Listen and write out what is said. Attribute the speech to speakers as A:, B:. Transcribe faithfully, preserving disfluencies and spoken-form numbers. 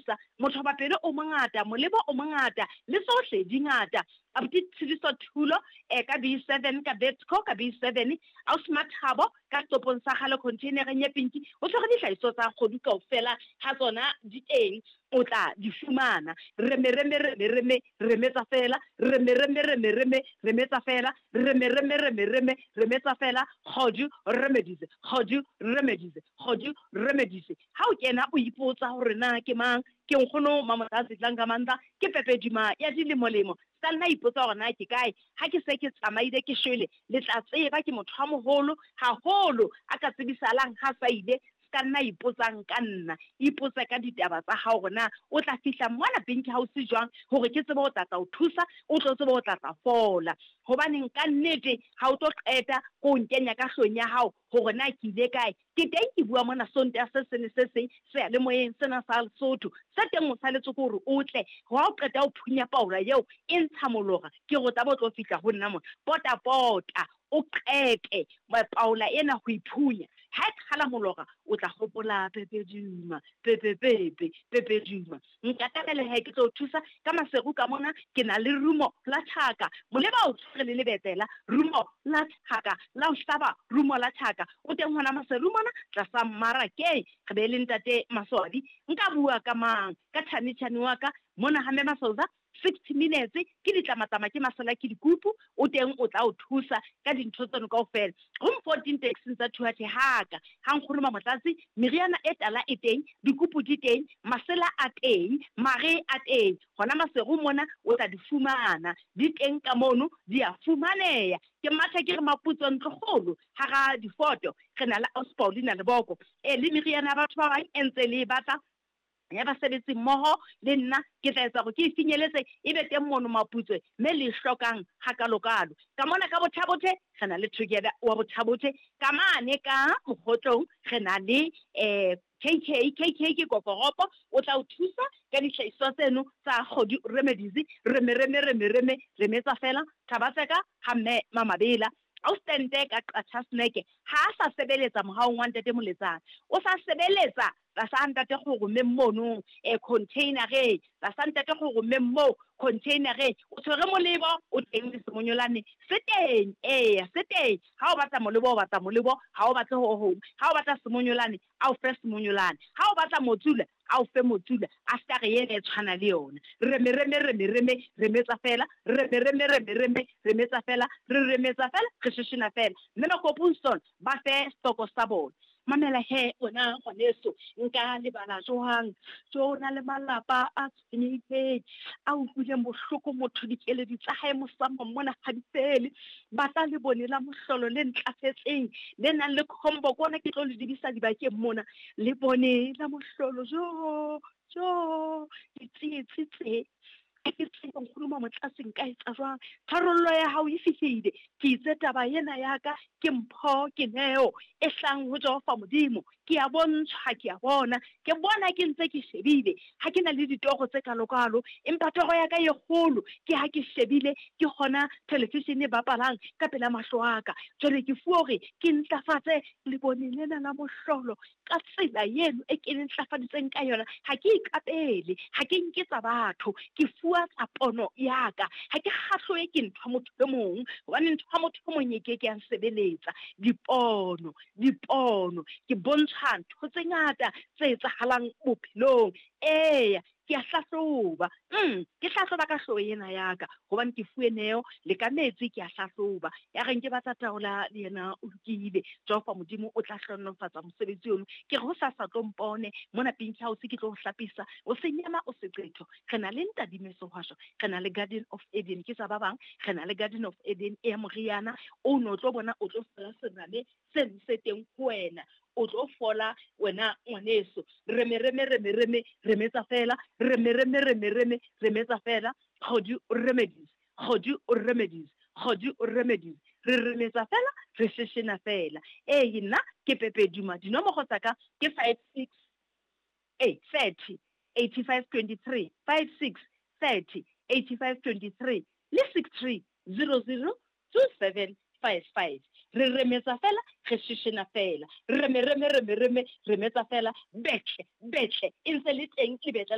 A: thusa. Motho wa pelo o mongata, molebo o mongata, le tsohle di ngata. Abuti Tshidiso Thulo eh, ka B seven, ka Betco, ka B seven, Ausi Mathabo ka setopong sa kgale containereng ya pinki, o tshwere dihlahiswa tsa kgodu kaofela ha tsona di teng, o tla di fumana. Reme reme reme reme remetsa fela, reme reme reme reme remetsa fela, reme reme reme reme remetsa fela, kgodu remedies, kgodu remedies, kgodu remedies. Ha o kena o ipotsa hore na ke mang, ke nkgono Mamotlatsi Dlangamandla, ke Pepe Duma ya dilemolemo. Ska nna ipotsa hore na ke kae, ha ke se ke tsamaile ke shwele, le tla tseba ke motho a moholo haholo a ka tsebisalang ha sa ile. Ska nna ipotsang ka nna, ipotse ka ditaba tsa hao hore na o tla fihla mona Pinky House jwang, hore ke tsebe ho tla tla o thusa, o tlo tsebe ho tla tla fola. Hobaneng ka nnete ha o tlo qeta ko nkenya ka hlong ya hao hore na ke ile kae. Ke teng ke bua mona Sontaha se seng le se seng seyalemoyeng sena sa Lesotho. Se teng o saletse ke hore o tle, ha o qeta ho phunya paola eo e ntsha molora, ke re o tla bo tlo fihla ho nna mona. Pota pota o qete paola ena ho iphunya. Ha e qhala molora o tla hopola Pepe Duma, Pepe Pepe, Pepe Duma. Nkatamele he ke tlo thusa ka Maseru ka mona, ke na le rumo la tjhaka. Moleba o tshwere le lebetela, rumo la tjhaka, la o hlaba rumo la tjhaka. O teng hona Maseru mona tlasa mmarakeng, re be le ntate Maswabi. Nka bua ka mang? Ka Thami Tjhane wa ka mona ha Mme Masoza, sixty minutes ke ditlamatlama ke masala ke dikupu, o teng o tla o thusa ka dintho tseno kaofela. Room fourteen taxing tsa Thuathe haka ha nkgono Mamotlatsi, meriana e tala e teng, dikupu di teng, masela a teng, mare a teng. Hona Maseru mona o tla di fumana, di teng ka mono, di a fumaneha. Ke matha ke re Maputso ntlokgolo hara difoto, re na le Ausi Paulina Leboko. E le meriana ya batho ba bang e ntse le e batla ya basebetsi mmoho le nna, ke tla etsa hore ke e finyeletse, e be teng mono Maputswe mme le e hlokang hakalokalo. Ka mona ka Bothabothe re na le Together wa Bothabothe, ka mane ka Mokgotlong re na le eh K K, K K ke kokoropo, o tla o thusa ka dihlahiswa tseno tsa kgodu remedies, reme reme reme reme remetsa fela. Thabatseka ha mme Mamabela Austente ka Qacha Snack ha a sa sebeletsa mohaong wa ntate Moletsane, o sa sebeletsa tlasa ntate Kgoromeng mono, eh, container-eng, tlasa ntate Kgoromeng moo container-eng, o tshwere molebo o teng le semonyolane se teng, eya se teng. Ha o batla molebo o batla molebo, ha o batle ho hong. Ha o batla semonyolane a o fe semonyolane, ha o batla motsula a o fe motsula, a ska re ena e tshwana le yona. Reme reme reme reme remetsa fela, reme reme reme reme remetsa fela, re remetsa fela, re sheshena fela. Mme Makopunson ba fe stoko sa bona. Mamela he wena ngwaneso, nka lebala jwang? Jo na le malapa a tshwenyehileng, a utlwileng bohloko motho, dikeledi tsa hae mosamo mona ha di fele. Batla le bone la mohlolo le ntlafetseng, le nang le combo, kona ke tlo le dibisa dibakeng mona. Le bone la mohlolo, jo, jo, ditsietsi tse. Ha ke tsebe nkgono Mamotlatsi nka etsa jwang? Tharollo ya hao e fihlile. Ke itse taba ena ya ka ke mpho, ke neo e hlang ho Jehova Modimo. Ke a bontshwa, ke a bona, ke bona ke ntse ke shebile. Ha ke na le ditoro tse kalokalo, empa toro ya ka e kgolo ke ha ke shebile, ke hona television e bapalang ka pela mahlo a ka. Jwale ke fuwe hore ke ntlafatse lebone lena la mohlolo ka tsela eno e ke le ntlafaditseng ka yona. Ha ke ikapele, ha ke nke tsa batho, ke fuwa tsa pono ya ka. Ha ke kgahloe ke ntho ya motho e mong, hobane ntho ya motho e mong e ke ke ya nsebeletsa. Dipono, dipono, ke bontsha ntho tse ngata tse etsahalang bophelong. Eya, ke a hlahloba. Mm, ke hlahloba ka hlooho ena ya ka, hobane ke fuwe neo le ka metsi ke a hlahloba. Ya reng ke batla taola le yena o lokile. Jehova Modimo o tla hlohonolofatsa mosebetsi ono. Ke re ho sa sa tlo mpone mona Pinky House, ke tlo o hlapisa, o se nyama o se qetho. Re na le Ntadime Sehwasho, re na le Garden of Eden, ke tsa ba bang. Re na le Garden of Eden e ya moriana o no tlo bona, o tlo fola serame seno se teng ho wena, o tlo fola wena ngwaneso. Reme reme reme reme remetsa fela, reme reme reme reme remetsa fela. Kgodu remedies, kgodu remedies, kgodu remedies. Re remetsa fela, re sheshena fela. Ee, nna ke Pepe Duma. Dinomoro tsa ka ke five six eight thirty eighty five twenty three, five six thirty eighty five twenty three le six three zero zero two seven five five. Re remetsa fela, re sheshena fela. Reme reme reme reme remetsa fela. Betle betle e ntse le teng lebetle.